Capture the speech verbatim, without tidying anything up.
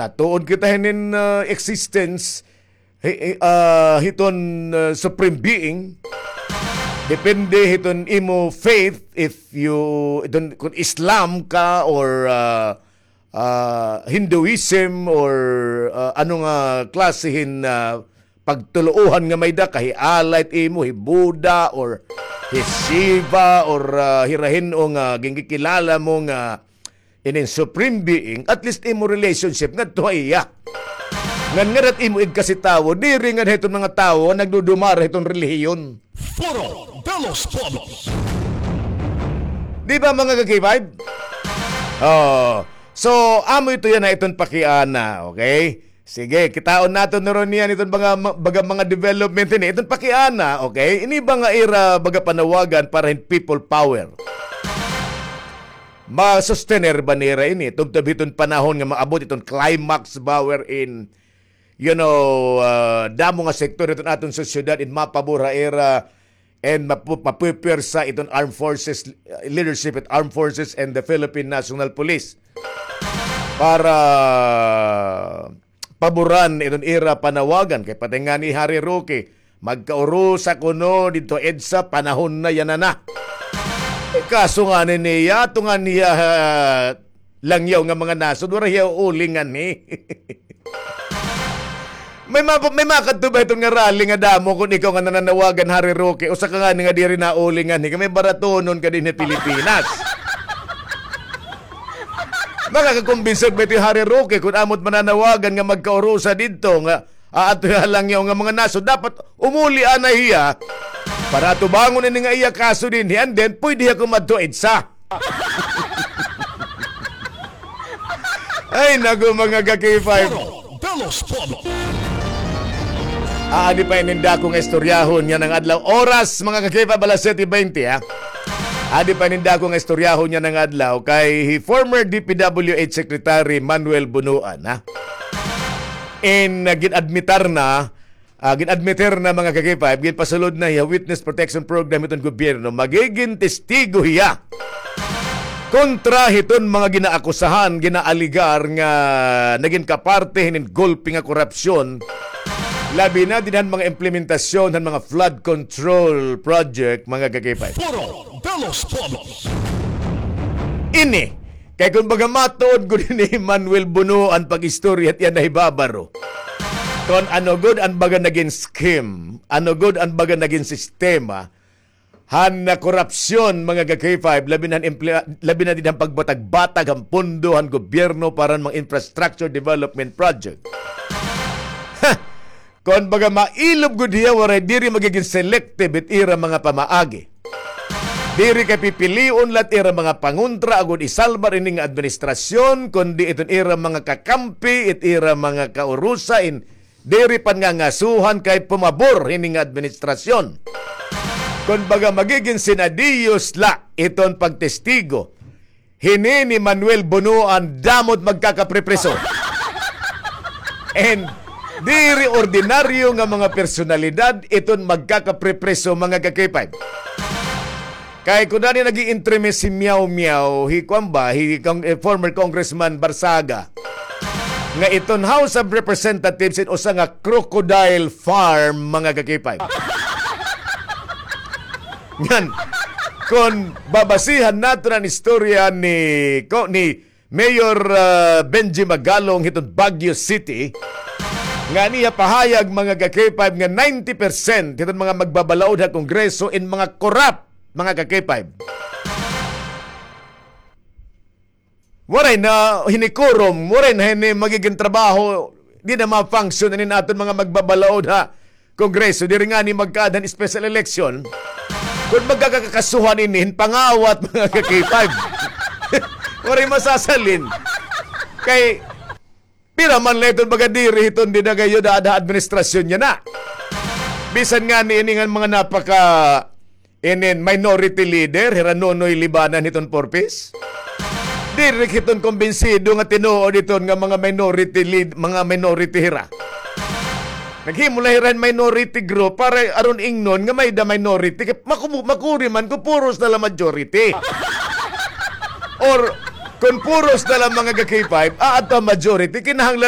tatuon kita hinin, ah, existence, hi-, hi-, ah, hiton, ah, supreme being. Depende hiton imo faith, if you, iton, kun Islam ka or, ah, ah, Hinduism or, ah, ano nga klase hin, ah, pagtuluohan nga may-ada ka, hi Allah it imo, hi Buddha or hi Shiva or, ah, hira hin-o nga ginkikilala mo nga inin supreme being, at least imo relationship ngadto ha iya. Ngan ngada it imo igkasi tawo, diri ngada hiton mga tawo nga nagdudumara hiton relihiyon. Foro de los Pueblos. Di ba, mga ka-K five? Oh. So, amo ito yana iton pakiana, okay? Sige, kitaon naton na ron niyan iton baga, baga mga development ini. Iton pakiana, okay? Ini ba nga ira baga panawagan para hin people power? Masustener ba nira ini? Tubtob hiton panahon nga maabot iton climax ba wherein, you know, ah, damo nga sektor iton aton sosyedad in mapabor ha ira and mapu-, mapupwersa iton armed forces, uh, leadership at armed forces and the Philippine National Police para paboran iton ira panawagan. Kay pati ngani Harry Roque, magkaurusa kuno didto EDSA, panahon na yana na. Eh, kaso ngani niya, tunga niya, ah, langyaw nga mga nasod, waray hiya uuli ngani. May ma-, may makadto ba iton nga rally nga damo kun ikaw nga nananawagan, Harry Roque, usa ka ngani nga diri nauli ngani, kay may baratonon ka dinhi ha Pilipinas. Makakakumbinsi ba ito hi Harry Roque kun amo it mananawagan nga magkaurusa didto nga aadto ha langyaw nga mga nasod? Dapat umuli anay hiya para atubangon ini nga iya kaso dinhi, and then pwede hiya kumadto EDSA. Ay, naku, mga ka-K five. Foro de los Pueblos. Ah, adi pa inin dako nga istoryahon yana nga adlaw. Oras, mga ka-K five, alas siyete bente, ha? Adi pa inin dako nga istoryahon yana nga adlaw kay former D P W H Secretary Manuel Bonoan, ha? In, ah, gin-admitar na Ah, gin-admitir na, mga ka-K five, ginpasulod na hiya witness protection program hiton gobyerno. Magigin testigo hiya kontra hiton mga ginaakusahan, ginaaligar nga nagin kaparte hinin gulpi nga korupsyon, labi na dida han mga implementasyon han mga flood control project, mga ka-K five. Foro de los Pueblos. Ini, kay kon baga matuod gud ni Manuel Bonoan pag-istorya it iya nahibabaro. Kon ano gud an baga nagin scheme, ano gud an baga nagin sistema, han na korupsyon, mga ka-K five, labi na han emple-, labi na dida han pagbatag-batag han pondo han gobyerno para han mga infrastructure development project. Ha! Kon baga mailob gud hiya, waray, diri magigin selective it ira mga pamaagi. Diri kay pipilion la it ira mga pangontra agod isalbar ini nga administrasyon, kundi iton ira mga kakampi, it ira mga kaurusa in diri pangangasuhan kay pumabor hini nga administrasyon. Kon baga magigin sinadiyos la iton pagtestigo hini ni Manuel Bonoan, damo it magkakaprepriso. And diri ordinaryo nga mga personalidad iton magkakaprepriso, mga ka-K five. Kay kun ano nag-iintermes hi Miao Miao, hi kuan ba, hi Cong-, eh, former Congressman Barzaga, nga iton House of Representatives in usa nga crocodile farm, mga ka-K five. Ngan, kon babasihan naton an istorya ni, ko, ni Mayor, ah, Benji Magalong hiton Baguio City, nga an iya pahayag, mga ka-K five, nga ninety percent hiton mga magbabalaod ha Kongreso in mga korap, mga ka-K five. Waray na hini quorum, waray na hini magigin trabaho, di na ma-function inin aton mga magbabalaod ha Kongreso, diri ngani magkaada hin special election. Kon magkakakasuhan ini hin pangawat, mga ka-K five, waray masasalin. Kay pira man la iton baga diri hiton dinagayod ha, ha administrasyon niya na. Bisan ngani ini nga mga napaka inin minority leader, hira Nonoy Libanan hiton Four Ps. Diri hiton kumbinsido nga tinuod iton nga mga minority lead-, mga minority hira. Naghimo la hira hin minority group para aron ingnon nga may-ada minority. Kay maku-, makuri man kon puros na la majority. Or kon puros na la, mga ka-K five, aadto ha majority, kinahanglan